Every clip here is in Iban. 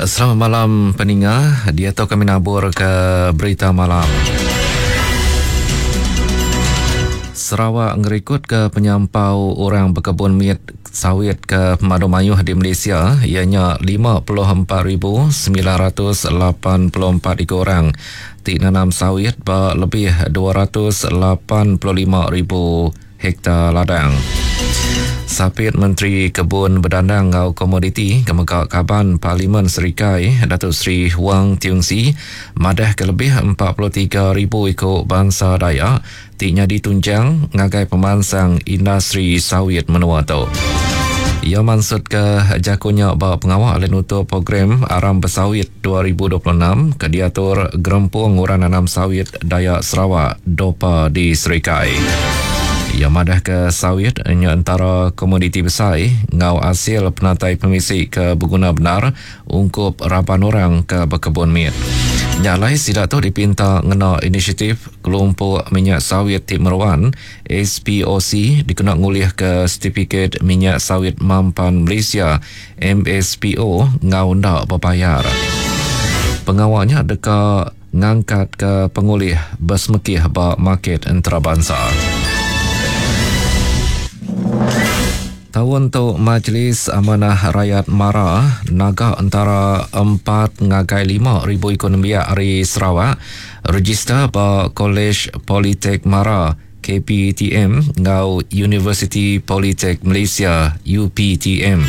Selamat malam peninga. Diatu kami nabur ke berita malam. Sarawak ngerikut ke penyampau orang bekebun mit sawit ke pemadu mayuh di Malaysia iya nya 54,984 iku orang ti nanam sawit ba lebih 285,000 hektar ladang. Sapit Menteri Kebun Bedandang enggau Komoditi ke mega Kaban Parlimen Serikai Datuk Seri Huang Tiong Sii madahka lebih 43,000 iku bansa Dayak ti nyadi tunjang ngagai pemansang industri sawit menua tu. Iya mansutka jaku nya ba pengawa alai nutup program Aram Besawit 2026 ke diatur Gerempung Orang Nanam Sawit Dayak Sarawak, DOPA, di Serikai. Iya madahka sawit nya entara komoditi besai enggau asil penatai pemisi ke beguna bendar ungkup raban orang ke bekebun mit. Nya alai sida tu dipinta ngena inisiatif Kelompok Minyak Sawit ti Meruan, SPOC, dikena ngulihka Setipikit Minyak Sawit Mampan Malaysia, MSPO, enggau enda bebayar. Pengawa nya deka ngangkatka pengulih besemekih ba market entarabansa. Taun tu Majlis Amanah Rayat Mara naga entara empat ngagai 5,000 iku nembiak ari Sarawak rejister ba Kolej Politek Mara, KPTM, enggau Universiti Politek Malaysia, UPTM.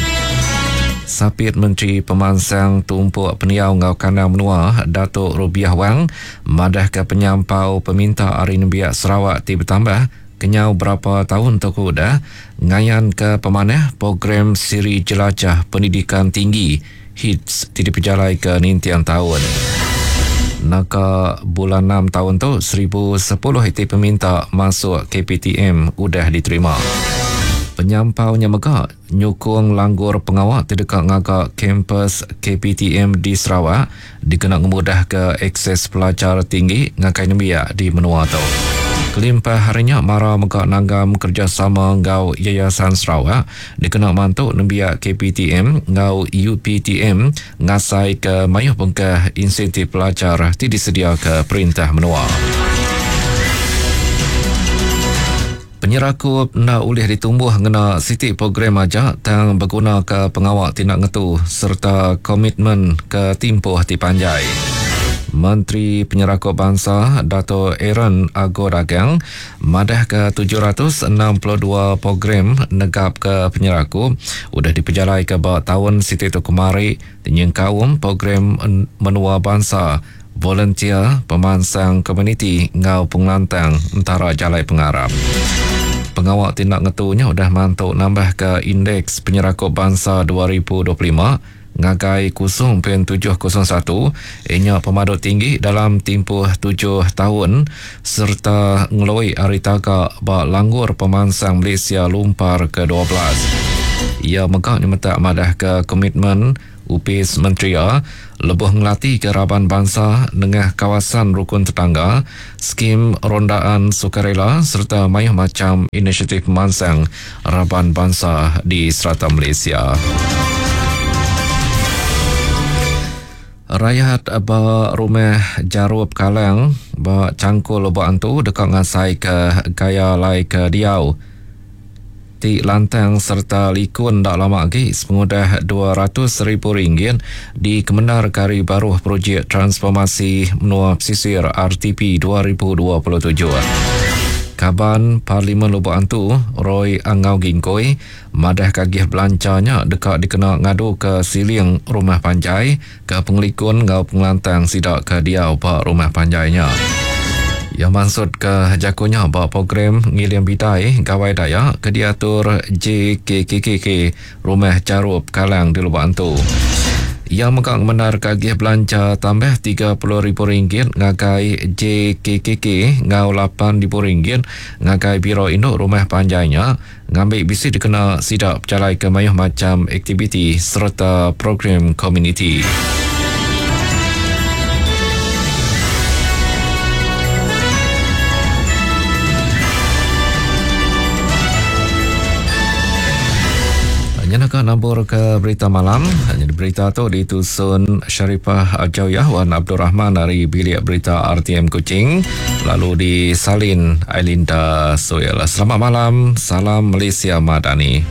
Sapit Menteri Pemansang Tumpuk Pendiau enggau Kandang Menua Datuk Rubiah Wang madahka penyampau peminta ari nembiak Sarawak ti betambah kenyau berapa taun tu ke udah ngayanka pemanah program Siri Jelajah Pendidikan Tinggi, HITS, ti dipejalaika ninting taun. Naka bulan enam taun tu, 1010 iti peminta masuk KPTM udah diterima. Penyampau nya mega nyukung langgur pengawa ti deka ngaga kampus KPTM di Sarawak dikena ngemudahka akses pelajar tinggi ngagai nembiak di menua tu. Kelimpah ari nya, Mara mega nanggam kerejasama enggau Yayasan Sarawak dikena mantu nembiak KPTM enggau UPTM ngasaika mayuh bengkah insentif pelajar ti disediaka perintah menua. Penyerakup enda ulih ditumbuh ngena siti program aja tang begunaka pengawa ti enda ngetu sereta komitmen ke timpuh ti panjai. Menteri Penyerakup Bansa Dato Aaron Ago Dagang madahka 762 program negapka penyerakup udah dipejalaika ba taun siti tu kemari ti nyengkaum program menua bansa Volunteer, pemansang komuniti enggau pengelantang entara jalai pengarap. Pengawa ti enda ngetu nya udah mantu nambahka Indeks Penyerakup Bansa 2025 ngagai 0.701, iya nya pemadu tinggi dalam timpuh tujuh taun sereta ngelui ari taga ba Langgur Pemansang Malaysia Lumpar ke-12. Iya mega nyemetak madahka komitmen Opis Menteri iya lebuh ngelatika raban bansa nengah kawasan rukun tetangga, skim rondaan sukarela sereta mayuh macham inisiatif pemansang raban bansa di serata Malaysia. Rayat ba Rumah Jarup Kalang ba Changkul Lubok Antu deka ngasaika gaya alai ke diau ti lantang sereta likun enda lama agi sepengudah 200 ribu ringgit dikemendarka ari baruh Projek Transformasi Menua Pesisir RTP 2027. Kaban Parlimen Lubok Antu, Roy Angau Gingkoi, madahka agih belanja nya deka dikena ngaduka siling rumah panjai ke pengelikun enggau pengelantang sida ke diau ba rumah panjai nya. Iya mansutka jaku nya ba program Ngiling Bidai Gawai Dayak ke diatur JKKKK Rumah Charup Kalang di Lubok Antu. Iya mega ngemendarka agih belanja tambah RM30,000 ngagai JKKK enggau RM8,000 ngagai Biro Indu Rumah Panjai nya ngambi bisi dikena sida bejalaika mayuh macham aktiviti sereta program komuniti. Kena ka nabur ke berita malam. Jadi berita tu ditusun Sharifah Ajawyah Wan Abdul Rahman ari Bilik Berita RTM Kuching lalu disalin Ailinda Suel. Selamat malam, salam Malaysia Madani.